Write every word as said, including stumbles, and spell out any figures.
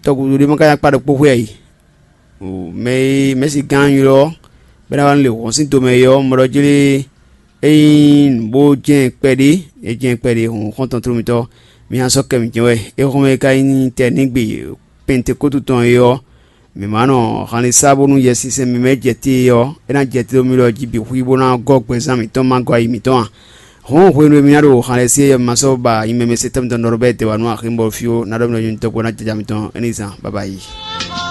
tɔgǔdó ɖé ma ka nya kpa ɖokpó xwé ǎ yi. Mɛ e mɛ̌si gán ylɔ́ bɔ é ná wá nú lě hɔn sín tomɛ é ɔ́, mɔ ɖɔ jlé é nyí nǔ bó jɛ́n kpɛɖé, é jɛ́n kpɛɖé hǔn xɔ́ntɔn tlóló mitɔ́. Mi nya sɔ́ kɛ mǐtɛn wɛ. Éhɔ́nmɛ e ka nyí tɛnígbe Pɛntekótu tɔn é ɔ́, mǐ ma nɔ hanlin sá bónú Yɛsinsɛn mímɛ́ jɛ te é ɔ́, é ná jɛ te ɖo mi lɔ jí bǐ xwí bó ná gɔ́ gbɛzán mǐtɔn ma gɔ́ ayi mǐtɔn a? Hɔ̌n hwenu e mi ná ɖo hanlɛ́ se é, ma sɔ́ ba nyí mɛ mɛ se tɛ́ mitɔn ɖɔ bɛ́ dɛ̌wanu aximɔ fí ó, ná ɖɔ mi ɖɔ nyí tɔ́gbó ná jaja mitɔn é ní zán. Baba yi.